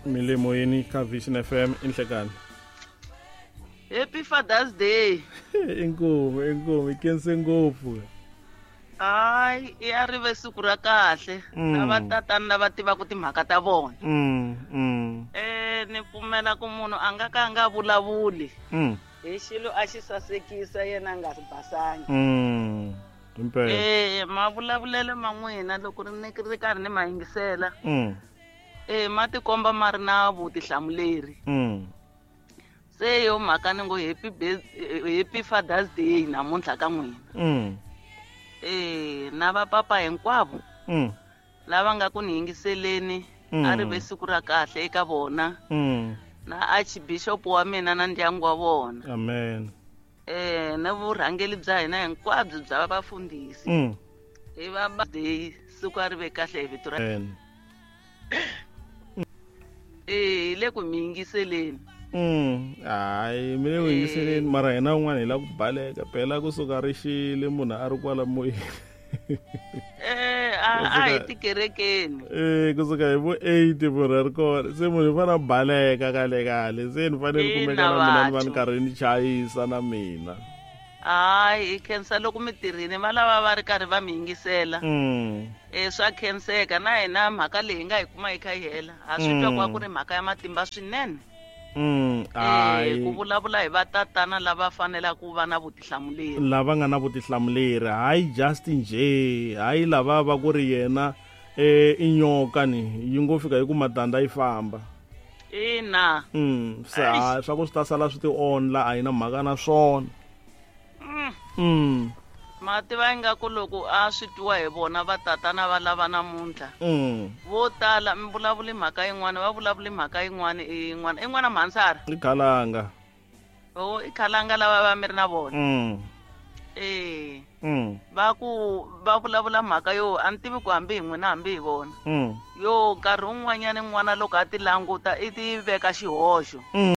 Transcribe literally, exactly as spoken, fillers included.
Mi le moyeni ka Vision F M inhlekani. Happy Father's Day. Inkomu, inkomu, ikense ngopfu. Hayi, ya ri ve siku ra kahle. Lava tatana lava tivaka timhaka ta vona. Mm, mm. Eh, ni pfumela ku munhu a nga ka a nga vulavuli. Mm. Hi xilo a xi sasekisa yena a nga basangi. Mm. Impela. Eh, mavulavulelo ma n'wina loko ri ni ri karhi ni ma yingisela. Mm. Eh, ma tikomba ma ri na vutihlamuleri. Mm. Se yo mhaka ni ngo happy happy Father's Day namuntlha ka n'wina. Mm. Eh, na va papa hinkwavo. Mm. Lava nga ku ni yingiseleni, a ri ve siku ra kahle eka vona. Mm. Na Archbishop wa mina na ndyangu wa vona. Amen. Eh, na vurhangeri bya hina hinkwabyo bya vafundhisi. Mm. Hi va day siku a ri ve kahle hi vito ra. Amen. Eh, le ku mi yingiseleni. Mm, hayi mi le ku yingiseleni mara hina un'wana hi la ku baleka phela kusuka ri xile munhu a ri kwala moyeni. Eh, a a hi tikerekeni. Eh, kusuka hi vo eight munhu a ri kona se munhu u fanele a baleka kale kale se ni fanele ni kumeka na mina ni va ni karhi ni chayisa na mina. Hayi, hi khensa loko mi tirhini va lava va ri karhi va mi yingisela. Mm. Eh, swa khenseka na hina mhaka leyi hi nga yi kuma yi kha yi hela. Ha swi twa ku ku ri mhaka ya matimba swinene. Mm, eh, ku vulavula hi vatatana lava fanelaka ku va na vutihlamuleri. Lava nga na vutihlamuleri, hayi just nje, hayi lava va ku ri yena eh i nyoka ni yi ngo fika hi ku matandza yi famba. Ina. Mm, se a swa ku swi ta sala swi ti onla a yi na mhaka na swona. Mm. Mm. Mativa ingaku loko a swi twiwa hi vona vatatana va lava namuntlha. Mm. Vo tala mi vulavuli mhaka yin'wana, va vulavuli mhaka yin'wana yin'wana. I n'wana Mhansara? I Khalanga. Oh, i Khalanga lava va mi ri na vona. Mm. Eh. Mm. Va ku va vulavula mhaka yo a ni tivi ku hambi hi n'wina hambi hi vona. Mm. Yo nkarhi wun'wanyana n'wana loko a ti languta i ti veka xihoxo. Mm.